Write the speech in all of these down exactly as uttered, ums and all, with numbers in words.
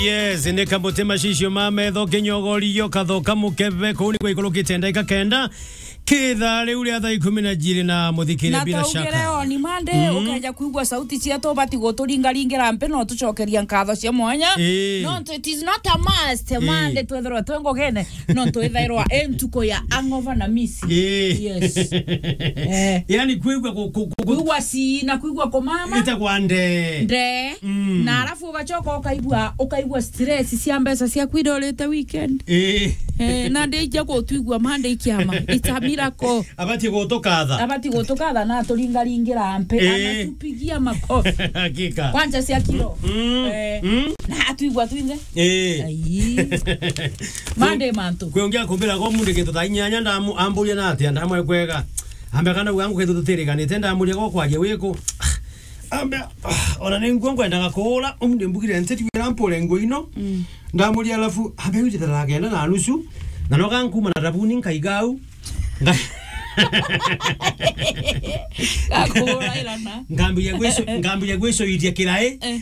Yes, ni kamutima cicio ma metho kinyogorio kathoka mukebe kuu ni kwa ikurukite ndaika kenda. Kitha riu ria thaa ikumi na jiri na muthikiria na bila twaugire shaka. Oni Monday, mm, ukeja kwigua sauti cietu, ubati guturingaringira mpi, no tucokeria nkatho cia mwanya. Ii. No, it is not a must, ii, Monday twethirwa twi ngugine, no twithairwa i ntuku ya hangover na miss. Ii. Yes. Eh. Yani kwigua ku-, ku-, ku-, ku-, kwigua si na kwigua kumama. Itagwa nde. Nde. Mm. Na alafu ugacoka ukaigua, ukaigua stress cia mbeca ciaku iria urite weekend. Ii. Eh, na ndija gutwigua Monday kiama. It's a miracle. Abati gutukatha. Abati gutukatha na aturingaringira mpi, ii, anatupigia makofi. Hakika. Kwanza cia kiro. Mm. Eh, mm, na atwigua twinthe. Ii. Ai. Monday mantu. Kwi ungi akumbira go mundu gintu thaa inyanya ndamu-, amburia na atia ndamwe kwega. Ambe kana wangu gintu tutiriganite ndamuria go kwaria wiku. Ambe, ah, ona ni nguo ngwendaga kuura, umunthi mbugire nteti wira mpure nguo ino. Mm. Ndamuria alafu, ambe uje thaa kenda na nusu, na no gankuma na thabuni nkaiga au. Nga- Gakuura irana. Ngambiria gwicu-, ngambiria gwicuithia kirai. Eh.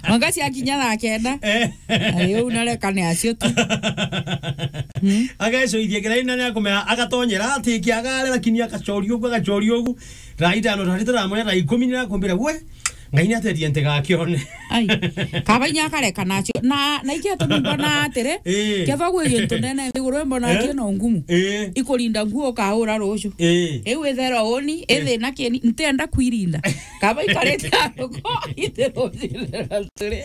Mwanka ciakinya thaa kenda. Eh. Ayo, unareka ni acio tu. Hmm? Agacuithia kirai na ni akumea, agatonyera, ati kiagare, lakini agacoria ugu, agacoria ugu. Thaa itano, thaa sita, thaa moja, thaa ikumi nirakumbira, we, Ngai niatetie ntigakione. Ai. Kaba inya akareka nacio. Na, na ikio tu mbona atiri, ii, kethwa gwi gintu nene nthiguru mbona, eh, kio no ngumu. Ii. Ikurinda nguo ukaura rucio. Ii. Iu itherwa uni, eh, ithina kieni, ntienda kwirinda. Kaba ikarite aruko, ithe rucio itherwa turi.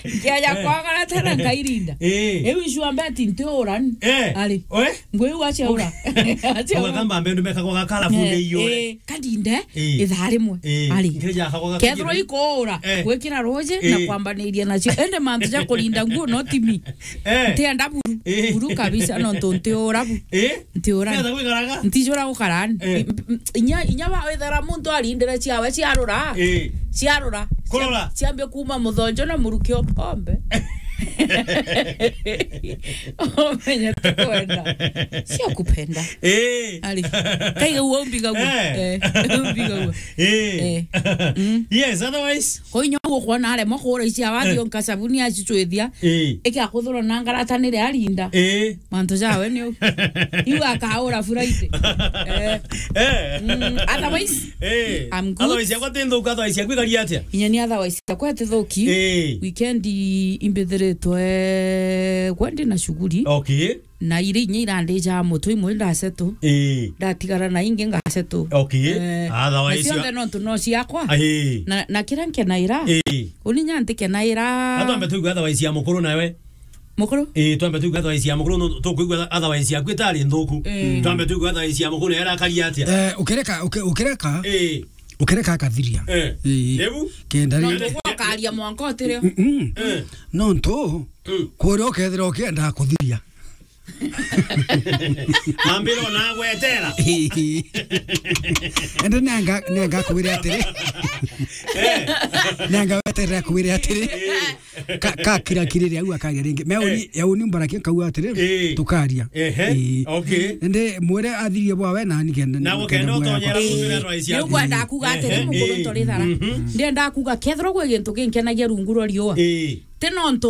Nkiaja kwagara tena nkairinda. Ii. Iu icu ambe ati ntiura ni. Eh. Ari. Oe? Ngui wacheura. Acheura. Kwa kamba mbendu meka kwa kala funde iyo. Eh, eh, kadinde, eh, ithaa rimwe. Eh, ari. Ngeja kwa kethirwa ikuura, eh, gwikira ruji na, eh, kwambaniria nacio. Ende mantu ja kurinda nguo no timi. Eh. Ntienda buru. Eh. Buru kabisa, no ntu ntiura bu. Eh. Ntiura. Ntienda gwikaraga? Ntijura gukara ni. Eh. M-, m-, inya, inya wa wethera muntu arindire ciawe ciarura. Eh. Ciarura. Kurora. Cia-, ciambia kuma muthonjo na muruki o pombe. Omenya tukwenda. Sio kupenda. Eh. Ari. Kaiga uo mbiga uo. Eh. Eh. Mbiga uo. Eh. Eh. Mm. Yes, otherwise. Kwa inyo uo kwona aremwa kura ici awathi, eh, onka sabuni acichwithia. Eh. Eke akuthurwa na ngarata nire arinda. Eh. Mantu jawe ni u. Iu akaura Friday. Eh. Eh. Mm, otherwise, eh, I'm good. Otherwise, yakwa ti nthuku, otherwise, yaku ikari atia? Inya ni otherwise, yakwa ti thuki. Eh. Weekend imbithiritwe gwendi na shughuli. Okay. Na iri inya irandija mutu imwe ndaseto. Eh. Ndatigara na ingi ngaseto. Okay. Eh, otherwise, na cionthe ya- nontu no ciakwa. Eh. Na, na kira nkenaira. Eh. Uni nya ntikenaira. Na twambe tuigua otherwise ya mukuru nawe. Mukuru? Eh, twambe tuigua otherwise ya mukuru, no, tukwigua otherwise yaku itari nthuku. Eh. Twambe tuigua otherwise ya mukuru, era akari atia? Eh, ukireka, uki-, ukireka, eh, ukireka akathiria. Eh. Eh. Ebu? Kenda ri- nontu gwakaria mwanka utire. Mm, mm. Eh. Nontu, mm, kuria ukethira ukienda kuthiria. Ambira ona agwetera. Ende nenga, nenga kwire atiri. Eh. Nenga weterera kwire atiri. Eh. Ka, ka kira kirire au akaria ringi. Me uni, eh, ya uni mbarakia kau atiri, eh, tukaria. Ehe. Eh. Okay. Ende mwire athirie bwa we na ni kenda. Na gukenda utonyera kuthira rwa cia. Ni ukwenda kuga atiri, ehe, mukuru, eh, ntori thara. Mhm. Ndenda kuga kethirwa gwi gintu ginkenagia rungu rwa riua. Eh. Ti nontu,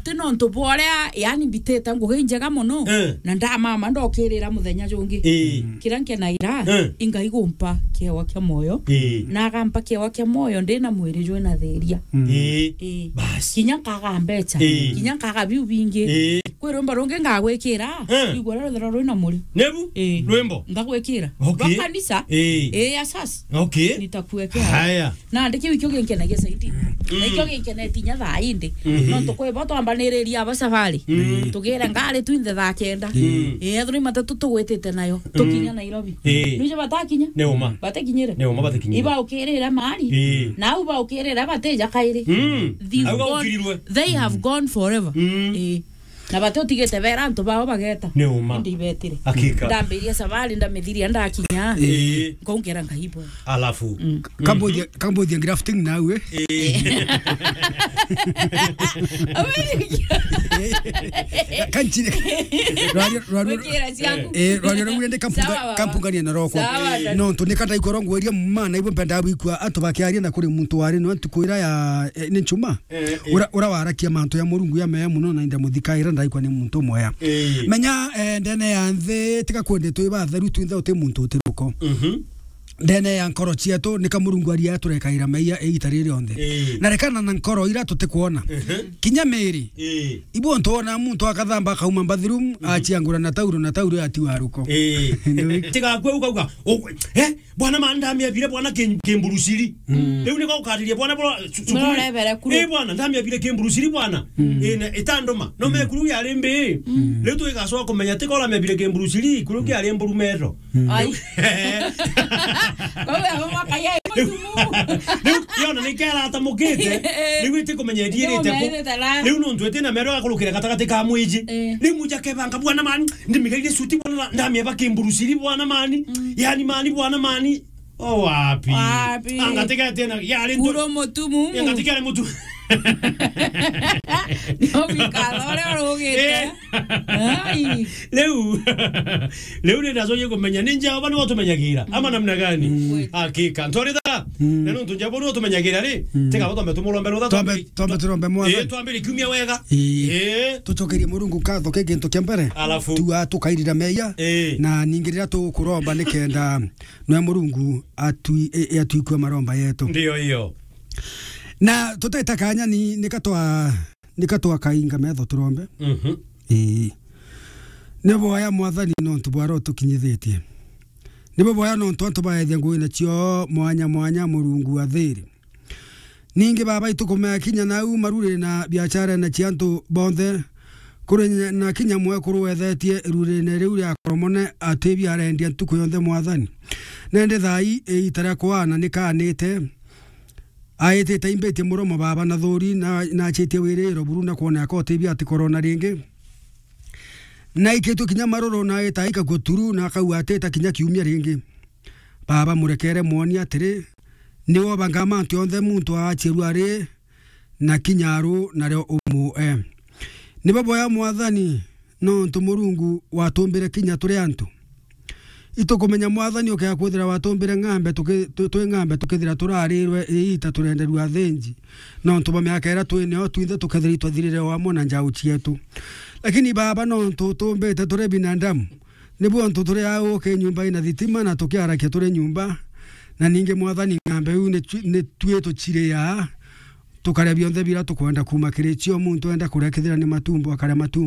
ti nontu bwa uria, yani, mbitite ngugi njega mono, eh, na ndamama ndokirira muthenya jungi. Eh. Kiria nkenaira, eh, ingai gumpa kiewa kia moyo, eh, na agampa kiewa kia moyo ndi na mwiri jwi na thiria. Mm. Eh. Eh. Bas. Kinya nkaga mbecha, eh, kinya nkaga biu bingi. Eh. Kwi rwimbo rungi ngagwikira, eh, igua ruria ruthera rwi na muri. Nebu? Eh. Rwimbo? Ngagwikira. Okay. Rwa kanisa? Eh. Eh, asas. Okay. Nitakuwekea. Haya. Na ndi kiu ikio ginkenagia zaidi. Mm. Na ikio ginkenetie inya thaa indi. Mm. Nontu kwi bo twambaniriria aba safari. Mm. Tugire ngari twinthe thaa kenda. Mm. Ii, ethirwa i matatu tugwitite nayo. Mm. Tukinya Nairobi. Ii. Nwijo batakinya? Ni uma. Batakinyire? Ni uma batakinyire. Ibaukirire mari. Ii. Na au baukirire batija kairi. Mm. They've gone, au gaukirirwe, they have gone forever. Mm. Ii. Na bati utigite bera antu bao bageta. Ni uma. Indi ibetire. Hakika. Ndambiria sabari, ndamithiria, ndakinya. Ii. Nkaungera Ngai bwe. Alafu. Mm. Kambuthia, kambuthia grafting nawe. Ii. Kanchire. Rwario, rwario. Wikira ciaku. Eh, rwario rwa rende kampunga-, Sawa, baba. Kampungania na roko. Sawa, dad. No, ntu ni kata ikoro ngweria mana, ibo mpenda bwikua antu bakiaria na kuri muntu wari no ntuku ira ya, eh, ni nchuma. Eh, eh. Ura, ura warakia mantu ya Murungu ya mea muno na inda muthikaira ndaikwa ni muntu mwea. Eh. Menya, eh, ndene ya nthi, tiga kwende twi batheru twinthe uti muntu uti ruko. Mhm. Ndene ya nkoro cietu, nika Murungu aria turekaira meia iita riri rionthe. Eh. Na rekana na nkoro ira tutikwona. Mhm. Kinya miri. Eh. Ibu ntu wona muntu akathamba akauma bathroom, mhm, achiangura na tauro na tauro atiwa ruko. Eh. Ni wi- Tigakue ukauga, "Oh, eh, bwana ma ndamiabire bwana ki-, kimburusiri." Mm. Riu niko ukariria bwana bora su-, sukuru. Nurorevere kuru. Eh, bwana ndamiabire kimburusiri bwana. Mm. Eh, na itanduma. No, mm, mekuru yari mbi. Mm. Riu twigacoka kumenya tika uramiabire kimburusiri, kuru kiari mburumero. Mm. Ai. Kwa hiyo hapo mwaka yeye mtumu. Riu yona ni kera atamukite. Riu iti kumenya ithirite ku. Riu nontu iti na mero akurukira gatagati ka mwiji. Eh. Riu muja kebanga bwana mani, ndimigaire suti bwana, ndamieba kimburusiri bwana mani. Mm. Yani mani bwana mani. O wapi? Wapi? Anga tigete na yari ntu-, kuro mutumu. Anga tigere mutu. No wikara uria urugite. Eh. Ai. Riu, riu ni ndacokie kumenya ni Jehova niwe utumenyagira, ama namna gani? Mm. Hakika. Ntoritha, mm, na nontu Jehova niwe utumenyagira ri, mm, tiga twambe tumurombe rutha, twambe, twambe, twambe turombe Mwathani. Eh, twambire kiumia wega. Ii. Eh. Tucokerie Murungu nkatho ki gintu kia mbere. Alafu. Tua tukairira meia. Eh. Na ningi riria tukuromba nikenda nwe Murungu atwi-, e-, e-, atwikue maromba yetu. Ndio hiyo. Na tutete kanya ni, nika twa-, nika twakainga metho turombe. Mhm. Ii. Ni boya Mwathani nontu bwa roho tukinyithitie. Ni bo boya nontu antu baethia ngugi nacio mwanya mwanya Murungu wa thiri. Ningi Baba, itukumea kinya nau marurine na biacharene cia antu bonthe. Kuri nya-, na kinya mwekuru wethetie rurine riu ria Koromone, atwi biarendia ntuku yonthe, Mwathani. Nende thai iita ria kwana ni kaanite. Aitite imbitie muromo, Baba, na thuri, na, na achitie wiriro buru na kwona akoti bia ati korona ringi. Na aikitwe kinya maruru, na aita aikagua turu, na akauga atita kinya kiumia ringi. Baba, murekere mwoni atiri, ni wobanga mantu yonthe muntu aachirua ari na kinya aru, nario umue. Ni bo boya Mwathani, nontu Murungu watumbire kinya turi antu. Itukumenya Mwathani ukea kwithira watumbire ng'ambe tuki-, tu-, twi ng'ambe tukithira turarirwe iita turenderua athinji. Nontu bwa miaka iria twi nio twinthe tukethira itwathirire o amwe na njau cietu. Lakini Baba, nontu utumbite turi binadamu, nibu antu turi au uki nyumba ina thitima na tukiarakia turi nyumba, na ningi Mwathani ng'ambe iu ni twi-, ni twi tuchiria, tukaria bionthe bira tukwenda kuuma kiri cio. Muntu enda kuria kethira ni matumbo, akaria matumbo.